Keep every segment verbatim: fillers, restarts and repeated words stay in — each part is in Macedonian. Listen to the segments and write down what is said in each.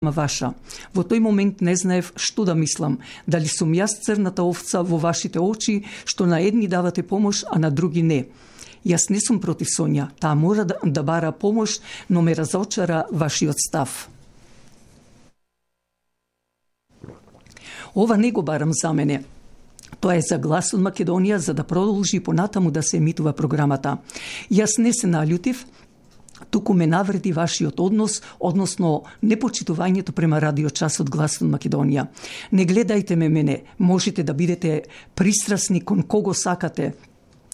ваша. Во тој момент не знаев што да мислам, дали сум јас црната овца во вашите очи, што на едни давате помош, а на други не. Јас не сум против Сонја, таа мора да, да бара помош, но ме разочара вашиот став. Ова не го барам за мене. Тоа е за Глас од Македонија, за да продолжи понатаму да се емитува програмата. Јас не се наљутив, туку ме навреди вашиот однос, односно непочитувањето према радиочасот Глас од Македонија. Не гледајте ме мене, можете да бидете пристрасни кон кого сакате,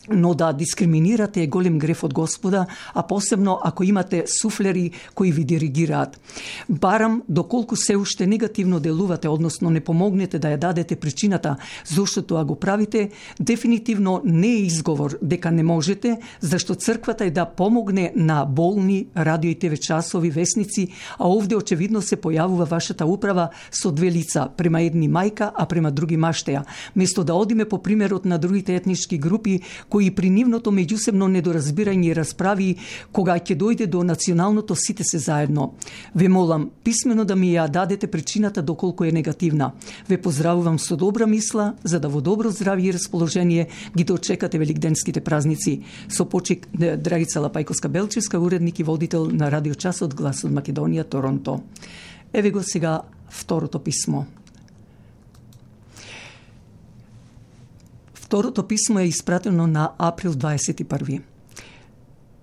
но да дискриминирате е голем греф од Господа, а посебно ако имате суфлери кои ви диригираат. Барам, доколку се уште негативно делувате, односно не помогнете да ја дадете причината зошто тоа го правите, дефинитивно не е изговор дека не можете, зашто црквата е да помогне на болни радио и ТВ часови, весници, а овде очевидно се појавува вашата управа со две лица, према едни мајка, а према други маштеја. Место да одиме по примерот на другите етнички групи, кои при нивното меѓусебно недоразбирање и расправи, кога ќе дојде до националното сите се заедно. Ве молам писмено да ми ја дадете причината доколку е негативна. Ве поздравувам со добра мисла, за да во добро здравје и расположение ги дочекате великденските празници. Со почит Драгица Лапајковска-Белчевска, уредник и водител на радиочасот Глас од Македонија, Торонто. Еве го сега второто писмо. Второто писмо е испратено на април дваесет и први.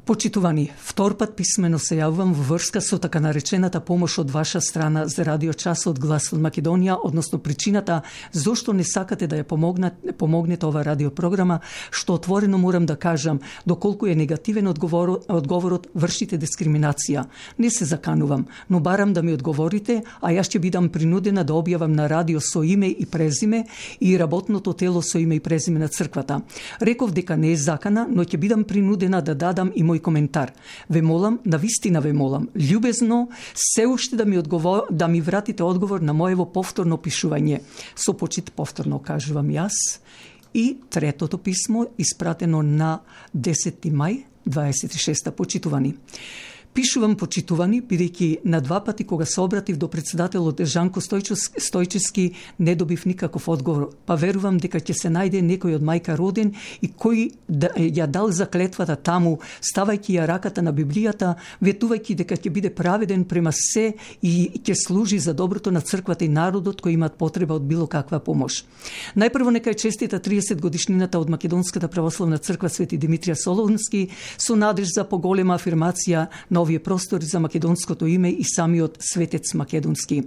Почитувани, втор пат писмено се јавувам во врска со така наречената помош од ваша страна за радиочасот Глас од Македонија, односно причината зошто не сакате да ја помогнете, помогнете ова радиопрограма, што отворено морам да кажам, доколку е негативен одговор, одговорот, вршите дискриминација. Не се заканувам, но барам да ми одговорите, а јас ќе бидам принудена да објавам на радио со име и презиме и работното тело со име и презиме на црквата. Реков дека не е закана, но ќе бидам принудена да дадам и мој коментар. Ве молам, навистина ве молам, љубезно, се уште да ми одговор, да ми вратите одговор на моево повторно пишување. Со почит повторно кажувам јас. И третото писмо, испратено на десети мај дваесет и шеста. Почитувани. Пишувам почитувани, бидејќи на два пати кога се обратив до председателот Жанко Стојчевски, не добив никаков одговор, па верувам дека ќе се најде некој од мајка роден и кој да, ја дал заклетвата таму, ставајќи ја раката на Библијата, ветувајќи дека ќе биде праведен према се и ќе служи за доброто на црквата и народот кои имаат потреба од било каква помош. Најпрво нека е честита триесет годишнината од Македонската православна црква Свети Димитрија Солунски со надеж за поголема афирмација на овие простори за македонското име и самиот светец македонски.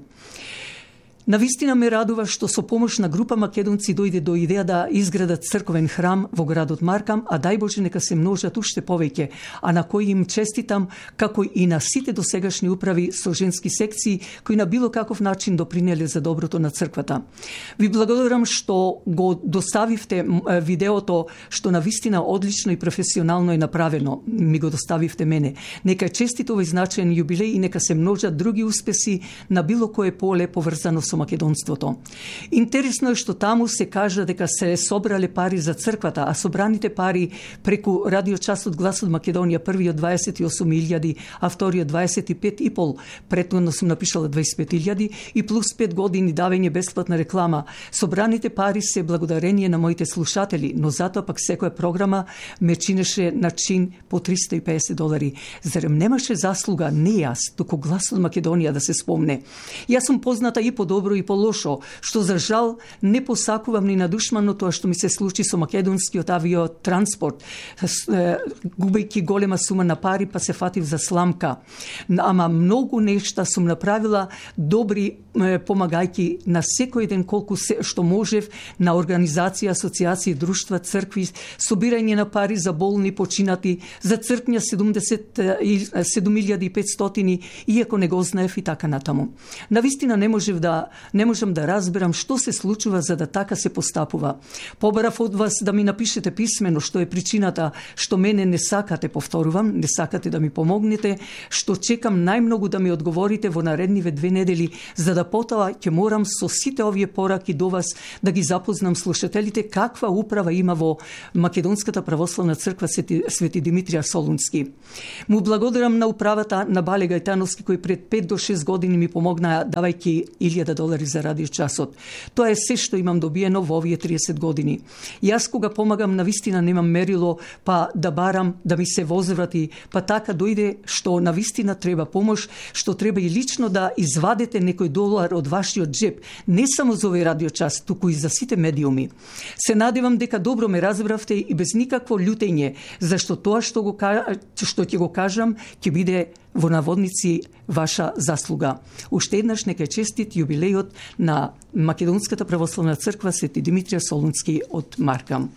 Навистина ме радува што со помош на група македонци дојде до идеја да изградат црковен храм во градот Маркам, а дај Боже нека се множат уште повеќе, а на кои им честитам, како и на сите досегашни управи со женски секции, кои на било каков начин допринеле за доброто на црквата. Ви благодарам што го доставивте видеото, што навистина одлично и професионално е направено. Ми го доставивте мене. Нека е честит овој значаен јубилеј и нека се множат други успеси на било кое поле поврзано со македонството. Интересно е што таму се кажа дека се собрале пари за црквата, а собраните пари преку радиочасот Глас од Македонија, првиот дваесет и осум илјади, а вториот дваесет и пет и пол, претходно сум напишала дваесет и пет илјади и плюс пет години давање бесплатна реклама. Собраните пари се благодарение на моите слушатели, но затоа пак секоја програма ме чинеше на чин по триста и песет долари. Зарем немаше заслуга не јас, туку Глас од Македонија да се спомне. Јас сум позната и по добро и по лошо, што за жал не посакувам ни на душмано тоа што ми се случи со македонскиот авиотранспорт, губејќи голема сума на пари, па се фатив за сламка. Ама многу нешта сум направила добри, помагајќи на секој ден колку се, што можев, на организација, асоциации, друштва, цркви, собирање на пари за болни, починати, за цркња седум илјади и петстотини, иако не го знаев и така натаму. Навистина не можев да не можам да разберам што се случува за да така се постапува. Побарав од вас да ми напишете писмено што е причината што мене не сакате, повторувам, не сакате да ми помогнете, што чекам најмногу да ми одговорите во наредниве две недели, за да потоа ќе морам со сите овие пораки до вас да ги запознам слушателите каква управа има во Македонската православна црква Свети, Свети Димитрија Солунски. Му благодарам на управата на Бале Гајтановски кој пред пет до шест години ми помогнаа давајќи илјада долари за радиочасот. Тоа е се што имам добиено во овие триесет години. Јас кога помагам навистина немам мерило, па да барам да ми се возврати, па така дојде што навистина треба помош, што треба и лично да извадете некој долар од вашиот джеп, не само за овој радиочас, туку и за сите медиуми. Се надевам дека добро ме разбравте и без никакво љутење, зашто тоа што го што ќе го кажам ќе биде во наводници ваша заслуга. Уште еднаш нека е честит јубилејот на Македонската православна црква Свети Димитрија Солунски од Маркам.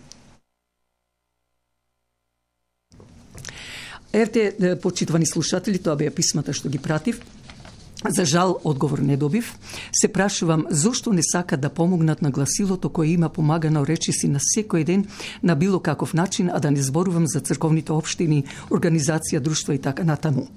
Ерте, почитувани слушатели, тоа беа писмата што ги пратив. За жал, одговор не добив. Се прашувам зошто не сакат да помогнат на гласилото кое има помагано речиси на секој ден на било каков начин, а да не зборувам за црковните општини, организација, друштва и така натаму.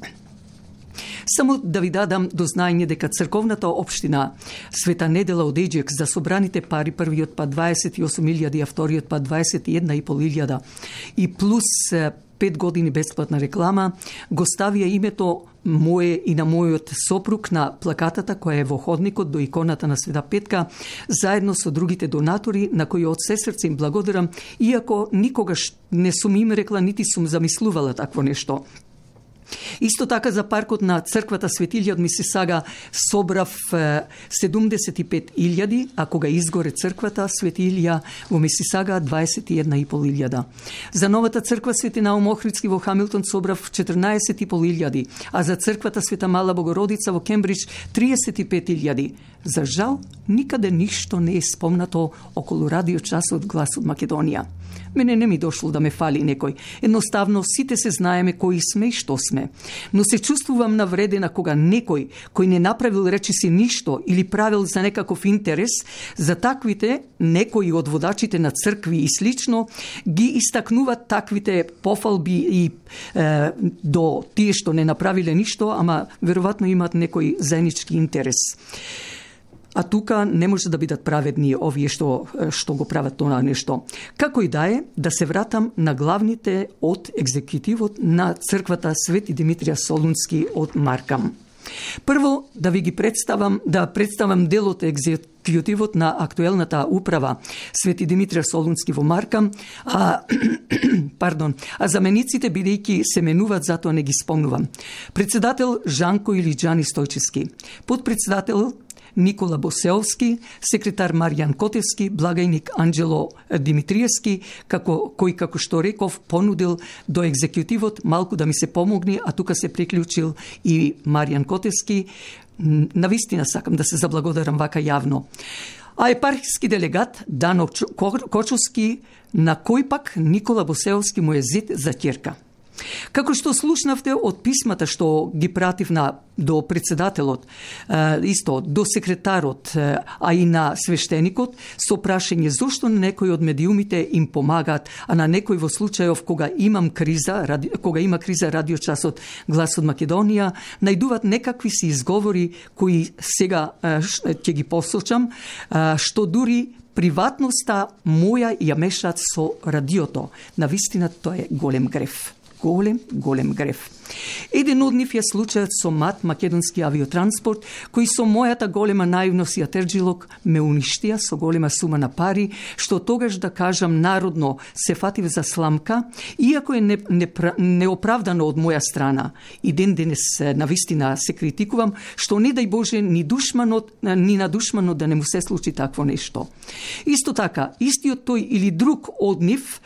Само да ви дадам до знаење дека црковната општина Света Недела од Еџек за собраните пари, првиот па дваесет и осум илјади, а вториот па дваесет и една и пол илјада и плюс пет години бесплатна реклама, го ставија името мое и на мојот сопруг на плакатата која е во ходникот до иконата на Света Петка, заедно со другите донатори на кои од се срце им благодарам, иако никогаш не сум им рекла нити сум замислувала такво нешто. Исто така за паркот на црквата Светилија од Мисисага собрав седумдесет и пет илјади, а кога изгоре црквата Светилија во Мисисага дваесет и една и пол илјада. За новата црква Свети Наум Охридски во Хамилтон собрав четрнаесет и пол илјади, а за црквата Света Мала Богородица во Кембридж триесет и пет илјади. За жал, никаде ништо не е спомнато околу радиочасот Глас од Македонија. Мене не ми дошло да ме фали некој. Едноставно, сите се знаеме кои сме и што сме. Но се чувствувам навредена кога некој кој не направил речиси ништо или правил за некаков интерес, за таквите некои од водачите на цркви и слично ги истакнуваат таквите пофалби и е, до тие што не направиле ништо, ама веројатно имаат некој заеднички интерес. А тука не може да бидат праведни овие што, што го прават тоа нешто. Како и да е, да се вратам на главните од екзекутивот на црквата Свети Димитрија Солунски од Маркам. Прво, да ви ги представам, да представам дел од екзекутивот на актуелната управа Свети Димитрија Солунски во Маркам, а, пардон, а замениците бидејќи се менуваат, затоа не ги спомнувам. Председател Жанко или Џани Стојчевски, подпредседател Никола Босеовски, секретар Маријан Котевски, благајник Анџело Димитриевски, како, кој, како што реков, понудил до екзекутивот малку да ми се помогне, а тука се приклучил и Маријан Котевски. Навистина сакам да се заблагодарам вака јавно. А епархиски делегат Дано Кочовски, на кој пак Никола Босеовски му е зет за ќерка. Како што слушнавте од писмата што ги пратив на, до председателот, исто до секретарот, а и на свештеникот, со прашање зошто некои од медиумите им помагаат, а на некој во случајов кога имам криза, ради, кога има криза радиочасот Глас од Македонија, најдуваат некакви си изговори кои сега ќе ги посочам, што дури приватноста моја ја мешаат со радиото. Навистина тоа е голем греф. Голем, голем греф. Еден од нив е случајот со МАТ, Македонски авиотранспорт, кои со мојата голема наивност и атерџилок ме уништија со голема сума на пари, што тогаш, да кажам народно, се фатив за сламка, иако е не, не, неоправдано од моја страна. И ден денес навистина се критикувам, што не дај Боже ни душманот, ни на душманот да не му се случи такво нешто. Исто така, истиот тој или друг од нив,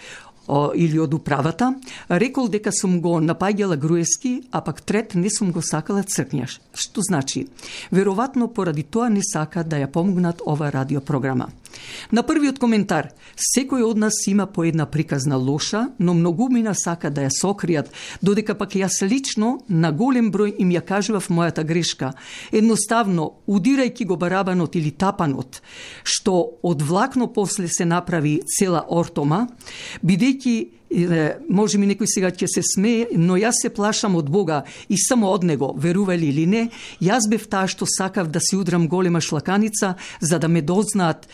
или од управата, рекол дека сум го напаѓала Груевски, а пак трет не сум го сакала Цркњаш. Што значи? Веројатно поради тоа не сака да ја помогнат ова радиопрограма. На првиот коментар, секој од нас има по една приказна лоша, но многумина сака да ја сокријат, додека пак јас лично на голем број им ја кажував мојата грешка. Едноставно, удирајќи го барабанот или тапанот, што од влакно после се направи цела ортома, бидејќи може ми некој сега ќе се смее, но јас се плашам од Бога и само од Него, верували или не, јас бев таа што сакав да си удрам голема шлаканица, за да ме дознаат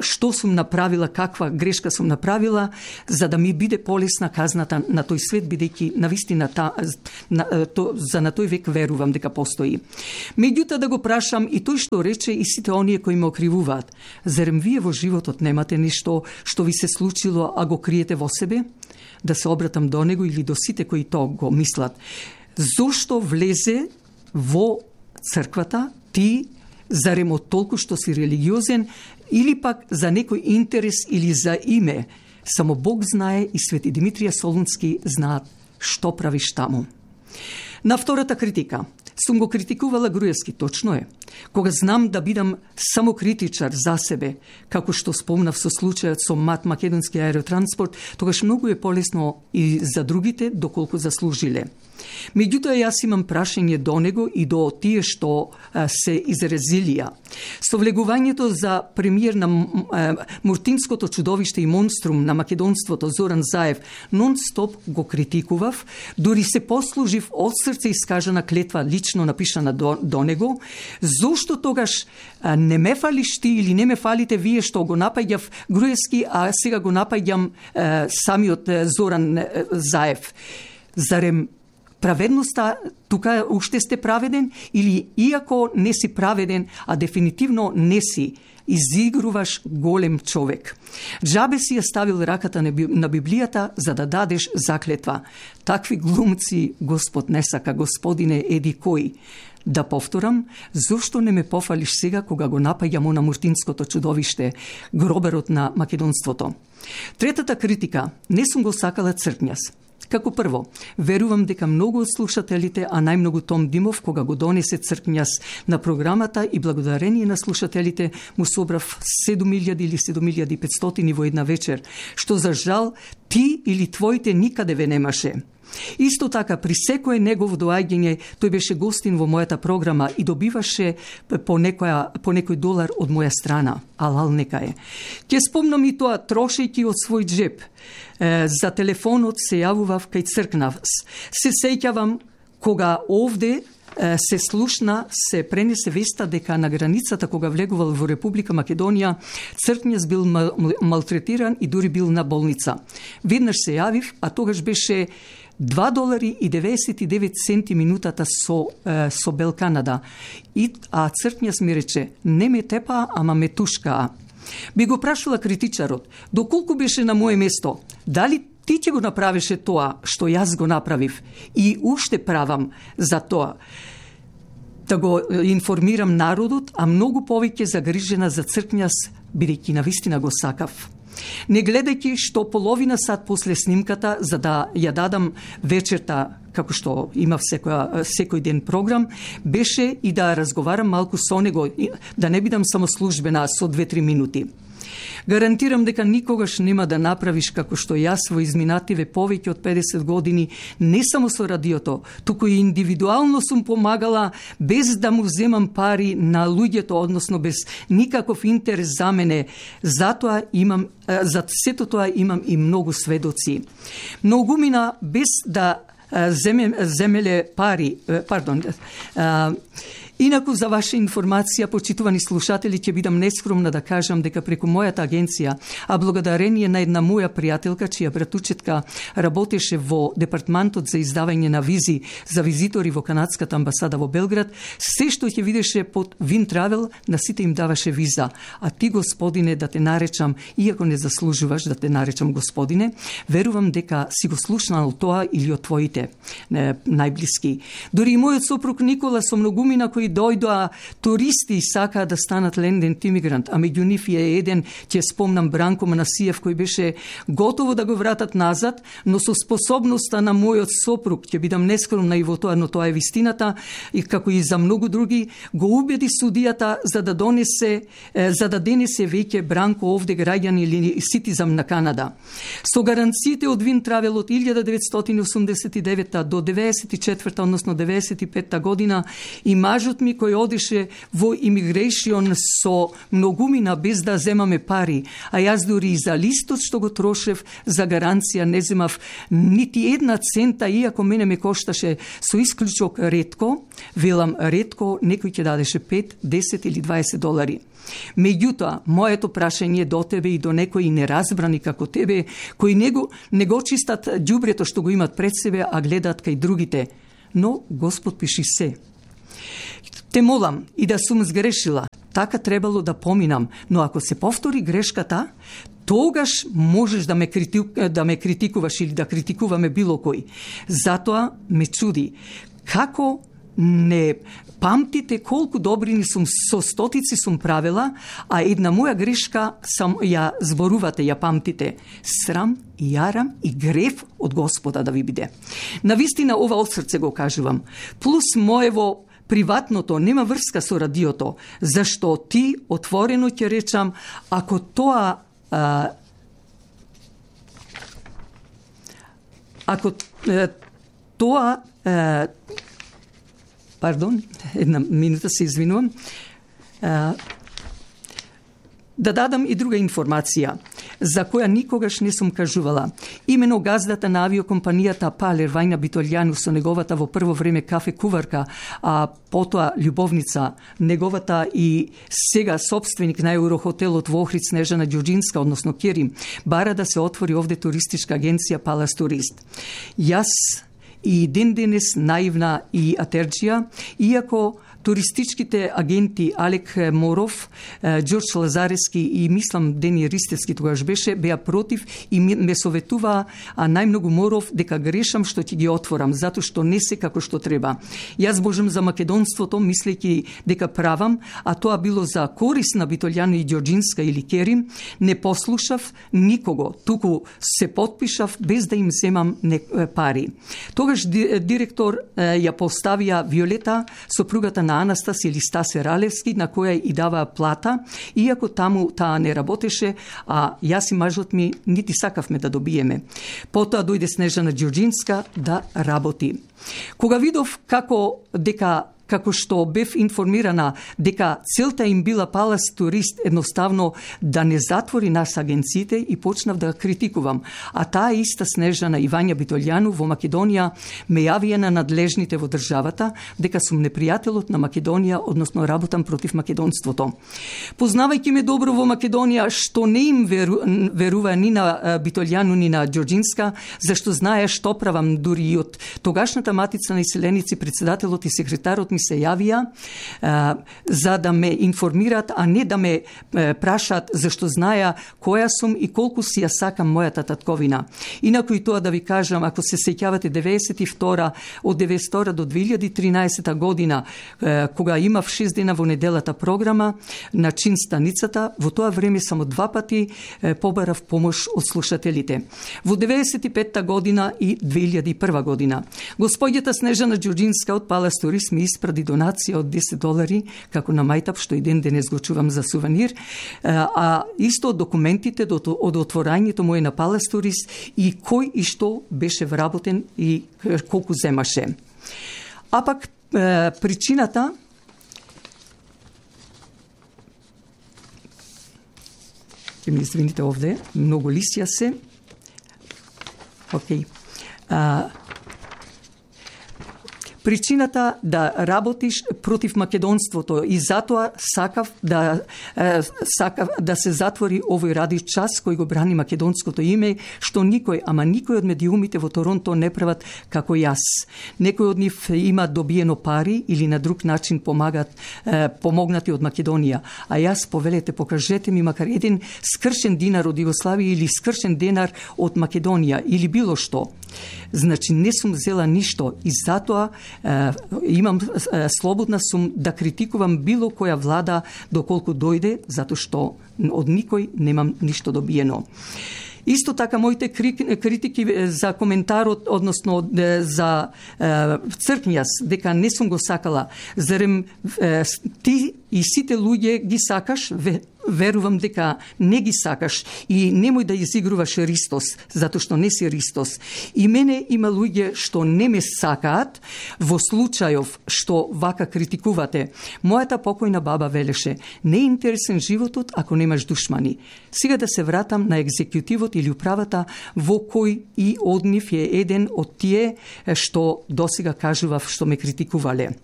што сум направила, каква грешка сум направила, за да ми биде полесна казната на тој свет, бидејќи навистина та, на, то, за на тој век верувам дека постои. Меѓутоа да го прашам и тој што рече и сите оние кои ме окривуваат, зарем вие во животот немате нешто што ви се случило, а го криете во себе? Да се обратам до него или до сите кои тоа го мислат. Зошто влезе во црквата ти, зарем од толку што си религиозен, или пак за некој интерес или за име? Само Бог знае и Свети Димитрија Солунски знаат што правиш таму. На втората критика. Сум го критикувала Груевски, точно е. Кога знам да бидам само критичар за себе, како што спомнав со случајот со МАТ Македонски аеротранспорт, тогаш многу е полесно и за другите доколку заслужиле. Меѓутоа, јас имам прашање до него и до тие што а, се изразилија. Со влегувањето за премиер на а, Муртинското чудовиште и монструм на македонството Зоран Заев нон-стоп го критикував, дури се послужив од срце искажана клетва лично напишана до, до него. Зошто тогаш а, не ме фалиш ти или не ме фалите вие што го напаѓав Груевски, а сега го напаѓам а, самиот а, Зоран а, Заев? Зарем праведноста тука уште сте праведен или иако не си праведен, а дефинитивно не си, изигруваш голем човек. Джабе си ја ставил раката на Библијата за да дадеш заклетва. Такви глумци Господ не сака, Господине еди кој. Да повторам, зошто не ме пофалиш сега кога го напаѓам на Муртинското чудовиште, гроберот на македонството? Третата критика, не сум го сакала Цркњас. Како прво, верувам дека многу од слушателите, а најмногу Том Димов, кога го донесе Цркњас на програмата и благодарение на слушателите му собрав седум илјади или седум илјади и петстотини во една вечер, што за жал ти или твоите никаде ве немаше. Исто така, при секое негово доаѓање, тој беше гостин во мојата програма и добиваше по, некоја, по некој долар од моја страна. Алал нека е. Ке спомнам и тоа, трошејќи од свој джеб. Е, за телефонот се јавував кај Цркнавс. Се сеќавам кога овде се слушна, се пренесе веста дека на границата кога влегувал во Република Македонија, Цркњас бил малтретиран и дури бил на болница. Веднаш се јавив, а тогаш беше два долари и деветдесет и девет центи минутата со, е, со Бел Канада. И, а Цркњас ми рече, не ме тепа, ама ме тушкаа. Би го прашала критичарот, доколку беше на моје место, дали ти ќе го направеше тоа што јас го направив и уште правам за тоа? Да го информирам народот, а многу повеќе загрижена за Цркњас, бидејќи навистина го сакав. Не гледајќи што половина сат после снимката, за да ја дадам вечерта, како што имав секој, секој ден програм, беше и да разговарам малку со него, да не бидам само службена со две-три минути. Гарантирам дека никогаш нема да направиш како што јас во изминативе повеќе од педесет години, не само со радиото, туку и индивидуално сум помагала без да му земам пари на луѓето, односно без никаков интерес за мене. Затоа имам, за сето тоа имам и многу сведоци. Многумина без да земе, земеле пари, пардон, Инаку, за ваша информација, почитувани слушатели, ќе бидам нескромна да кажам дека преку мојата агенција, а благодарение на една моја пријателка, чија братучетка работеше во департмантот за издавање на визи за визитори во канадската амбасада во Белград, се што ќе видеше под Вин Травел, на сите им даваше виза. А ти, господине, да те наречам, иако не заслужуваш да те наречам господине, верувам дека си го слушнал тоа или од твоите не, најблиски. Дори и мојот сопруг Никола со многумина кои кои дојдоа туристи и сакаа да станат лендент имигрант, а меѓу нив е еден, ќе спомнам, Бранко Манасиев, кој беше готово да го вратат назад, но со способноста на мојот сопруг, ќе бидам нескромна и во тоа, но тоа е вистината, и како и за многу други, го убеди судијата за да донесе, за да денесе веќе Бранко овде граѓани или ситизам на Канада. Со гаранциите од Вин Травел од илјада деветстотини осумдесет и девета до деветдесет и четврта, односно деветдесет и петта година, и мажот ми кој одеше во имигрейшион со многумина без да земаме пари, а јас дури и за листот што го трошев за гаранција не земав нити една цента, иако мене ме кошташе со исклучок ретко, велам ретко, некој ќе дадеше пет, десет или дваесет долари. Меѓутоа, моето прашање до тебе и до некои неразбрани како тебе, кои не го, не го чистат ѓубрето што го имат пред себе, а гледаат кај другите. Но Господ пиши се. Те молам и да сум сгрешила, така требало да поминам, но ако се повтори грешката, тогаш можеш да ме, критик, да ме критикуваш или да критикуваме било кој. Затоа ме чуди, како не памтите колку добрини сум со стотици сум правила, а една моја грешка сам ја зборувате, ја памтите. Срам, јарам и грев од Господа да ви биде. Навистина ова од срце го кажувам. Плюс моево приватното нема врска со радиото, зашто ти отворено ќе речам, ако тоа а, ако е, тоа е, пардон, една минута се извинувам, а, да дадам и друга информација, за која никогаш не сум кажувала. Имено газдата на авиокомпанијата Палер, Вајна Битолјану, со неговата во прво време кафе куварка, а потоа љубовница, неговата и сега собственик на Еврохотелот во Охрид Снежана Ѓурџинска, односно Керим, бара да се отвори овде туристичка агенција Палас Турист. Јас и ден денес наивна и атерџија, иако туристичките агенти Алек Моров, Ѓорџ Лазарески и мислам Дени Ристевски тогаш беше, беа против и ме советуваа, а најмногу Моров, дека грешам што ќе ги отворам, затоа што не се како што треба. Јас божам за македонството, мислејќи дека правам, а тоа било за корис на Битолјано и Ѓорџинска или Керим, не послушав никого, туку се потпишав без да им земам пари. Тогаш директор ја поставија Виолета, сопругата на Анастас или Стасе Ралевски, на која и даваа плата, иако таму таа не работеше, а јас и мажот ми нити сакавме да добиеме. Потоа дојде Снежана Ѓурџинска да работи. Кога видов како дека како што бев информирана дека целта им била Палас Турист едноставно да не затвори нас агенциите, и почнав да критикувам. А таа иста Снежана и Вања Битолјану во Македонија ме јавија на надлежните во државата дека сум непријателот на Македонија, односно работам против македонството. Познавајќи ме добро во Македонија, што не им веру, верува ни на Битолјану ни на Ѓорџинска, зашто знае што правам, дури и од тогашната матица на иселеници председателот и секретарот ми се јавија а, за да ме информираат, а не да ме а, прашаат зашто знаја која сум и колку си ја сакам мојата татковина. Инаку и тоа да ви кажам, ако се сеќавате деветдесет и втора, од деветдесет и втора до две илјади и тринаесета година, а, кога имав шест дена во неделата програма на чин станицата, во тоа време само два пати а, побарав помош од слушателите. Во деветдесет и петта година и две илјади и прва година. Господјата Снежана Ѓурџинска од Палас Турист ми испради донација од десет долари, како на мајтап, што и ден денес го чувам за сувенир, а исто од документите од отворањето моје на Палас Турист и кој и што беше вработен и колку земаше. А пак причината ќе ми извините овде, многу листија се. Океј. Okay. Причината да работиш против македонството и затоа сакав да е, сакав да се затвори овој ради час кој го брани македонското име, што никој, ама никој од медиумите во Торонто не прават како јас. Некој од нив има добиено пари или на друг начин помагат е, помогнати од Македонија, а јас повелете покажете ми макар еден скршен динар од Југославија или скршен денар од Македонија или било што. Значи не сум взела ништо и затоа имам слободна сум да критикувам било која влада доколку дојде, затоа што од никој немам ништо добиено. Исто така, моите критики за коментарот, односно за цркњас, дека не сум го сакала, зарем ти и сите луѓе ги сакаш, верувам дека не ги сакаш и немој да изигруваш Ристос, затоа што не си Ристос. И мене има луѓе што не ме сакаат во случајов што вака критикувате. Мојата покојна баба велеше: не е интересен животот ако немаш душмани. Сега да се вратам на екзекутивот или управата, во кој и од нив е еден од тие што досега кажував што ме критикувале.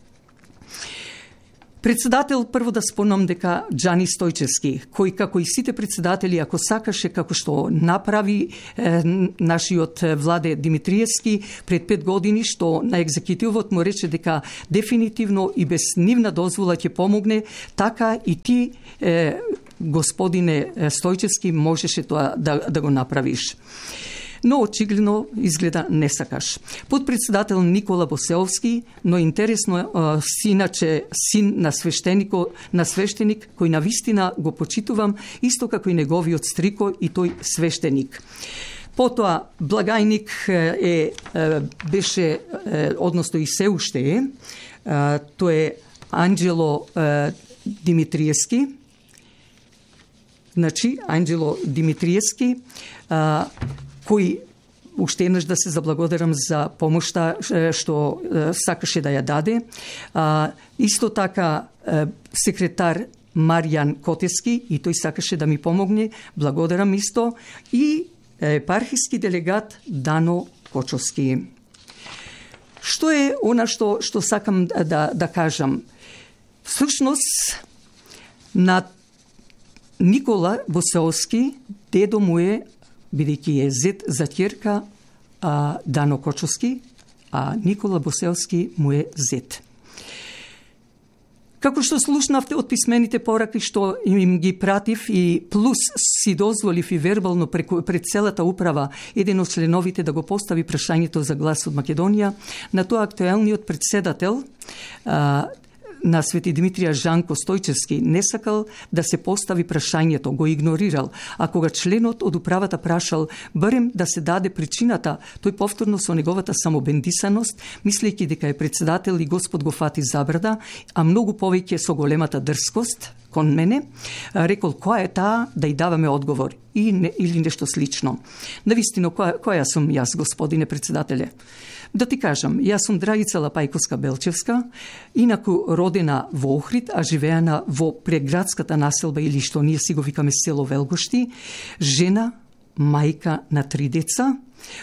Председател, прво да спомнам дека Џани Стојчевски, кој како и сите председатели, ако сакаше како што направи е, нашиот Владе Димитриевски пред пет години, што на екзекутивот му рече дека дефинитивно и без нивна дозвола ќе помогне, така и ти, е, господине Стојчевски, можеше тоа да, да го направиш. Но очигледно изгледа не сакаш. Подпредседател Никола Босеовски, но интересно синаче син на свештенико, на свештеник кој на вистина го почитувам, исто како и неговиот стрико и тој свештеник. Потоа благајник е, е беше, е, односно и се уште е, тој е Анџело е, Димитриевски. Значи, Анџело Димитриевски, а, кој уште еднаш да се заблагодарам за помошта што сакаше да ја даде. А, исто така секретар Маријан Котески, и тој сакаше да ми помогне, благодарам исто, и епархиски делегат Дано Кочовски. Што е она што, што сакам да, да кажам? Всушност, на Никола Босеовски, дедо му е, бидејќи е зет за ќерка а, Дано Кочовски, а Никола Босеовски му е зет. Како што слушнавте од писмените пораки што им ги пратив и плюс си дозволив и вербално преку, пред целата управа еден од членовите да го постави прашањето за глас од Македонија, на тоа актуелниот председател а, на Свети Димитрија Жанко Стојчевски не сакал да се постави прашањето, го игнорирал, а кога членот од управата прашал барем да се даде причината, тој повторно со неговата самобендисаност, мислејќи дека е председател и Господ го фати забрада, а многу повеќе со големата дрскост кон мене, рекол која е таа да и даваме одговор и не, или нешто слично. Навистина, која, која сум јас, господине председателе? Да ти кажам, јас сум Драгица Лапајковска-Белчевска, инаку родена во Охрид, а живеана во преградската населба или што ние си го викаме село Велгошти, жена, мајка на три деца,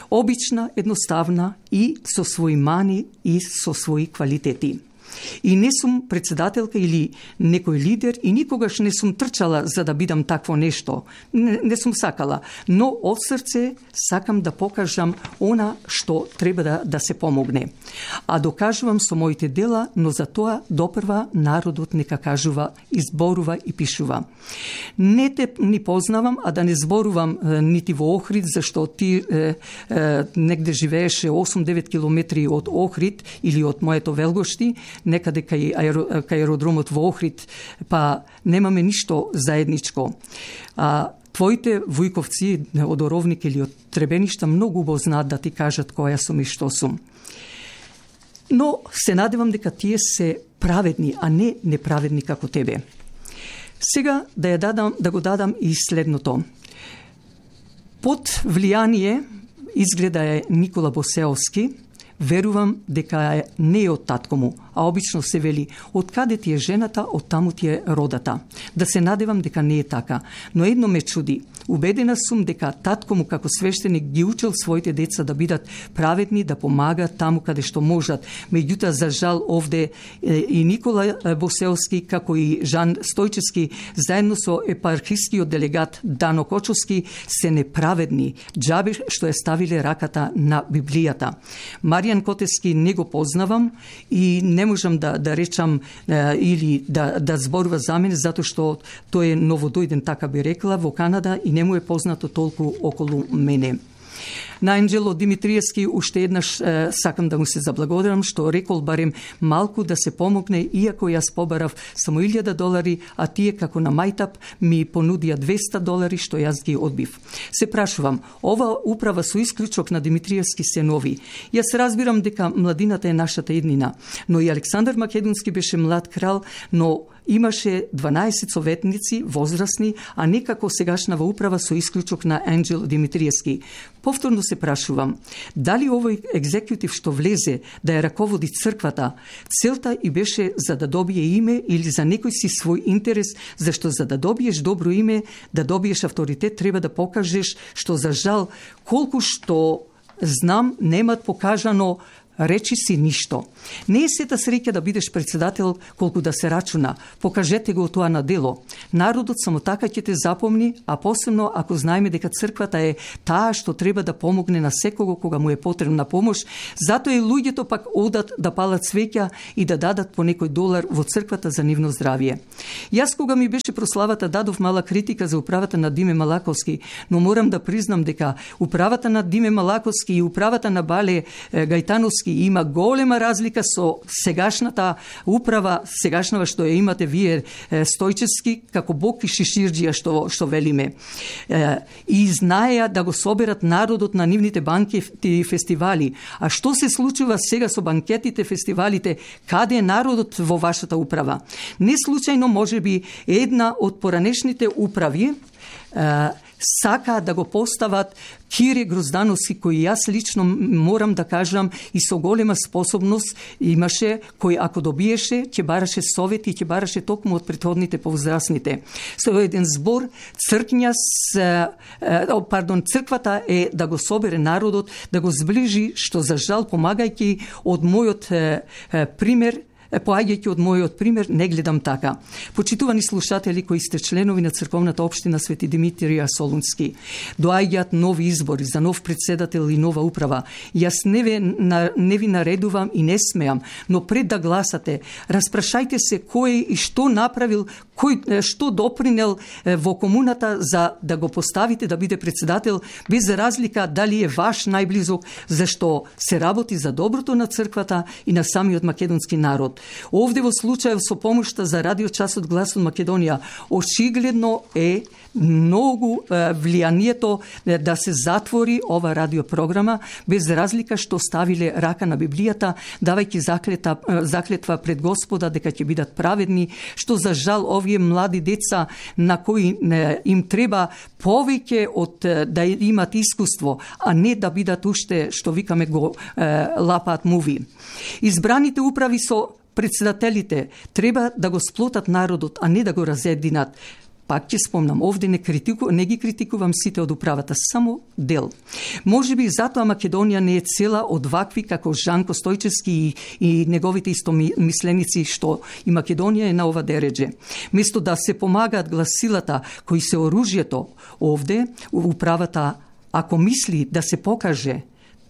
обична, едноставна и со своји мани и со своји квалитети. И не сум председателка или некој лидер и никогаш не сум трчала за да бидам такво нешто. Не, не сум сакала, но од срце сакам да покажам она што треба да, да се помогне. А докажувам со моите дела, но за тоа допрва народот нека кажува, изборува и пишува. Не те ни познавам, а да не зборувам е, нити во Охрид, зашто ти е, е, негде живееше осум-девет километри од Охрид или од моето Велгошти, некаде кај, аеро, кај аеродромот во Охрид, па немаме ништо заедничко. А твоите вујковци од Оровник или од Требеништа многу убаво знаат да ти кажат која сум и што сум. Но се надевам дека тие се праведни, а не неправедни како тебе. Сега да ја дадам, да го дадам и следното. Под влијание изгледа е Никола Босеовски, верувам дека не е од татко му, а обично се вели од каде ти е жената, од таму ти е родата. Да се надевам дека не е така, но едно ме чуди. Убедена сум дека татко му како свештеник ги учил своите деца да бидат праведни, да помагаат таму каде што можат. Меѓутоа, за жал, овде и Никола Босеовски, како и Жан Стојчевски, заедно со епархискиот делегат Дано Кочовски, се неправедни. Џабе што е ставиле раката на Библијата. Маријан Котески не го познавам и не можам да, да речам е, или да, да зборува за мене, затоа што тој е новодојден, така би рекла, во Канада и не му е познато толку околу мене. На Анđelo Димитриевски уште еднаш е, сакам да му се заблагодарам што рекол барем малку да се помогне, иако јас побарав само илјада долари, а тие како на мајтап ми понудија двеста долари што јас ги одбив. Се прашувам, ова управа со исклучок на Димитриевски се нови. Јас разбирам дека младината е нашата еднина, но и Александар Македонски беше млад крал, но имаше дванаесет советници, возрастни, а не како сегашнава управа со исклучок на Анđelo Димитриевски. Повторно се прашувам, дали овој екзекутив што влезе да ја раководи црквата, целта и беше за да добие име или за некој си свој интерес, зашто за да добиеш добро име, да добиеш авторитет, треба да покажеш што за жал, колку што знам, немат покажано речи си ништо. Не е сета среќа да бидеш председател колку да се рачуна. Покажете го тоа на дело. Народот само така ќе те запомни, а посебно ако знаеме дека црквата е таа што треба да помогне на секого кога му е потребна помош. Затоа и луѓето пак одат да палат свеќа и да дадат по некој долар во црквата за нивно здравје. Јас кога ми беше прославата дадов мала критика за управата на Диме Малаковски, но морам да признам дека управата на Диме Малаковски и управата на Бале Гајтановски има голема разлика со сегашната управа, сегашнава што ја имате вие Стојчевски, како Бог и Шиширџија што што велиме. И знаеа да го соберат народот на нивните банкети и фестивали. А што се случува сега со банкетите, фестивалите? Каде е народот во вашата управа? Не случајно можеби една од поранешните управи сака да го постават Кире Гроздановски, кој јас лично морам да кажам и со голема способност имаше, кој ако добиеше, ќе бараше совети и ќе бараше токму од претходните повозрастните. Со еден збор, цркња с, пардон, црквата е да го собере народот, да го зближи, што за жал помагајќи од мојот пример, поаѓајќи од мојот пример, не гледам така. Почитувани слушатели кои сте членови на црковната општина Свети Димитрија Солунски, доаѓаат нови избори за нов председател и нова управа. Јас не ви, не ви наредувам и не смеам, но пред да гласате, распрашајте се кој и што направил, кој што допринел во комуната за да го поставите да биде председател, без разлика дали е ваш најблизок, зашто се работи за доброто на црквата и на самиот македонски народ. Овде во случајов со помошта за радиочасот Глас од Македонија, очигледно е многу е, влијанието да се затвори ова радиопрограма, без разлика што ставиле рака на Библијата, давајќи заклета, заклетва пред Господа дека ќе бидат праведни, што за жал овие млади деца на кои не, им треба повеќе од да имат искуство, а не да бидат уште, што викаме го е, лапаат муви. Избраните управи со председателите треба да го сплотат народот, а не да го разединат. Пак ќе спомнам, овде не, критику, не ги критикувам сите од управата, само дел. Може би затоа Македонија не е цела од вакви како Жанко Стојчевски и, и неговите истомисленици, што и Македонија е на ова дередже. Место да се помагаат гласилата кои се оружјето овде, управата, ако мисли да се покаже,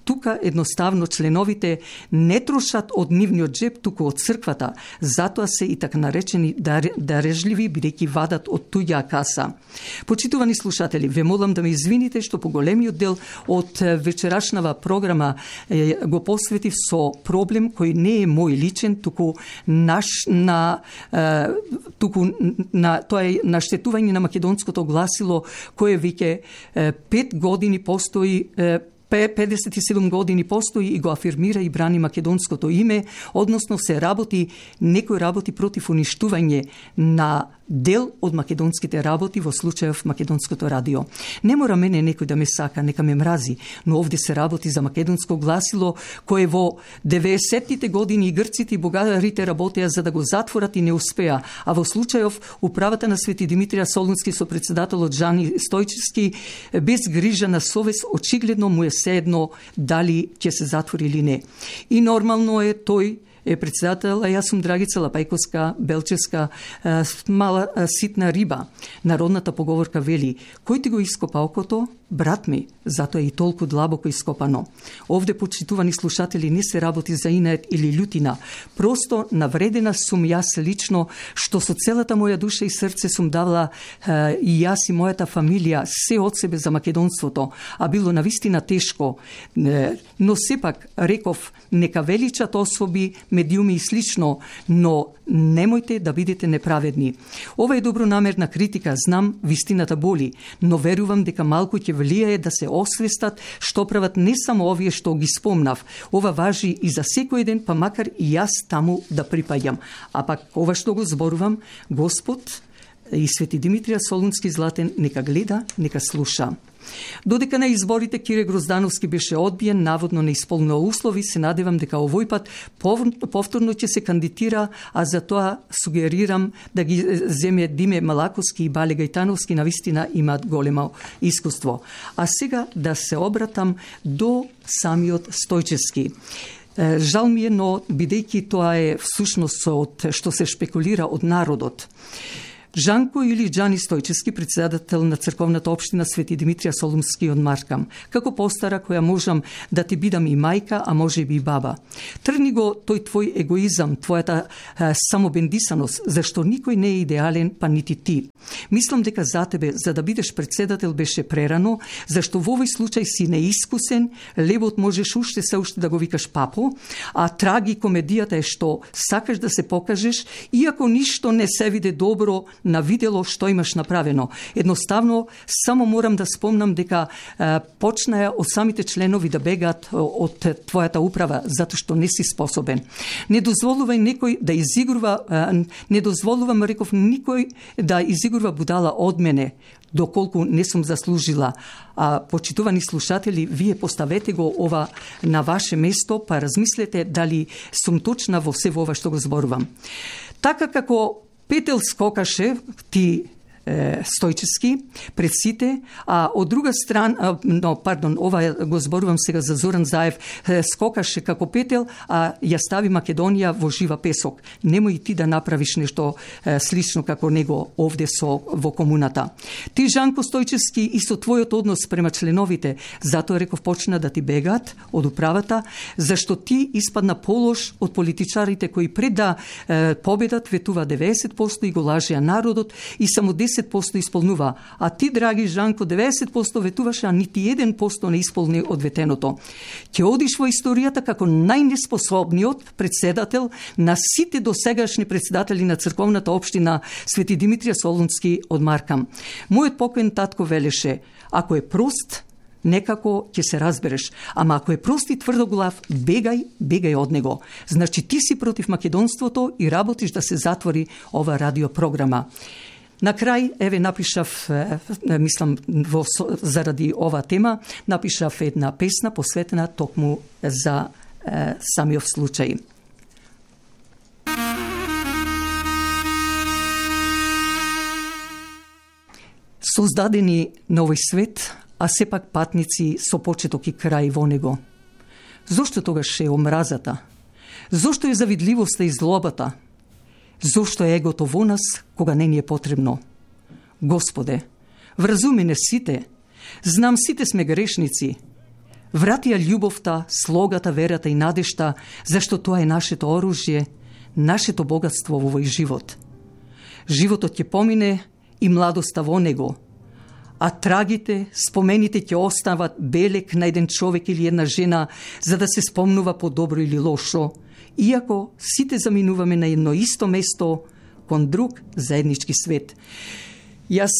тука едноставно членовите не трошат од нивниот джеб, туку од црквата. Затоа се и така наречени дарежливи, бидејќи вадат од туѓа каса. Почитувани слушатели, ве молам да ме извините што по големиот дел од вечерашнава програма е, го посветив со проблем кој не е мој личен, туку наш на е, туку на тоа е наштетување на македонското гласило кое веќе пет години постои, е, педесет и седум години постои и го афирмира и брани македонското име, односно се работи, некој работи против уништување на дел од македонските работи, во случајов македонското радио. Не мора мене некој да ме сака, нека ме мрази, но овде се работи за македонско гласило, кое во деветдесеттите години и грците и бугарите работеа за да го затворат и не успеа, а во случајов управата на Свети Димитрија Солунски со председателот Жани Стојчевски, без грижа на совест, очигледно му е седно дали ќе се затвори или не. И нормално е тој е председател, а јас сум Драгица Лапајковска, Белчевска, мала ситна риба. Народната поговорка вели, кој ти го ископа окото, брат ми, затоа е и толку длабоко ископано. Овде, почитувани слушатели, не се работи за инет или љутина. Просто навредена сум јас лично, што со целата моја душа и срце сум давала е, и јас и мојата фамилија се од себе за македонството, а било навистина тешко. Е, но сепак реков, нека величат особи, медиуми и слично, но немојте да бидете неправедни. Ова е добронамерна критика, знам, вистината боли, но верувам дека малку ќе влијае да се освестат што прават не само овие што ги спомнав. Ова важи и за секој ден, па макар и јас таму да припаѓам. А пак ова што го зборувам, Господ и Свети Димитрија Солунски Златен нека гледа, нека слуша. Додека на изборите Кире Гроздановски беше одбиен, наводно не исполнил услови, се надевам дека овој пат повторно ќе се кандидира, а за тоа сугерирам да ги земе Диме Малаковски и Бале Гајтановски, навистина имаат големо искуство. А сега да се обратам до самиот Стојчевски. Жал ми е, но бидејќи тоа е всушност од што се шпекулира од народот. Жанко или Џани Стојчевски, председател на црковната општина Свети Димитрија Солунски од Маркам. Како постара која можам да ти бидам и мајка, а може би и баба. Трни го тој твој егоизам, твојата е, самобендисаност, зашто никој не е идеален, па нити ти. Мислам дека за тебе, за да бидеш председател, беше прерано, зашто во овој случај си неискусен, левот можеш уште се уште да го викаш папо, а траги комедијата е што сакаш да се покажеш, иако ништо не се виде добро на видело што имаш направено. Едноставно, само морам да спомнам дека е, почнаја од самите членови да бегаат од твојата управа, затоа што не си способен. Не дозволувај некој да изигрува, е, не дозволувам, реков, никој да изигрува будала од мене, доколку не сум заслужила. А почитувани слушатели, вие поставете го ова на ваше место, па размислете дали сум точна во се ова што го зборувам. Така како Петел скокаше, ти е, Стојчевски, пред сите, а од друга страна, но, пардон, ова го зборувам сега за Зоран Заев, е, скокаше како Петел, а ја стави Македонија во жива песок. Немој ти да направиш нешто е, слично како него овде со во комуната. Ти, Жанко Стојчевски, и со твојот однос према членовите, затоа реков почна да ти бегаат од управата, зашто ти испадна полош од политичарите кои пред да е, победат ветува деветдесет проценти и го лажеа народот и само десет проценти исполнува. А ти, драги Жанко, деветдесет проценти ветуваше, а нити еден процент не исполни од ветеното. Ќе одиш во историјата како најнеспособниот председател на сите досегашни председатели на црковната општина Свети Димитрија Солунски од Маркам. Мојот покоен татко велеше, ако е прост, некако ќе се разбереш, ама ако е прост и тврдоглав, бегај, бегај од него. Значи ти си против македонството и работиш да се затвори ова радиопрограма. На крај, еве, напишав, мислам, во, заради ова тема, напишав една песна посветена токму за е, самиот случај. Создадени на овој свет, а сепак патници со почеток и крај во него. Зошто тогаш е омразата? Зошто е завидливоста и злобата? Зошто е егото во нас, кога не ни е потребно? Господе, вразуми не сите, знам сите сме грешници. Врати ја љубовта, слогата, верата и надежта, зашто тоа е нашето оружје, нашето богатство во овој живот. Животот ќе помине и младоста во него, а трагите, спомените ќе остават белек на еден човек или една жена, за да се спомнува по добро или лошо, иако сите заминуваме на едно исто место кон друг заеднички свет. Јас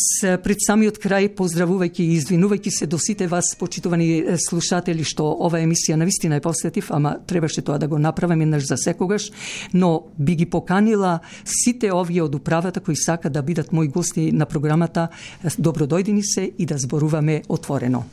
пред самиот крај, поздравувајќи и извинувајќи се до сите вас, почитувани слушатели, што ова емисија навистина е посветив, ама требаше тоа да го направам еднаш за секогаш, но би ги поканила сите овие од управата кои сака да бидат мои гости на програмата, добро дојдени се и да зборуваме отворено.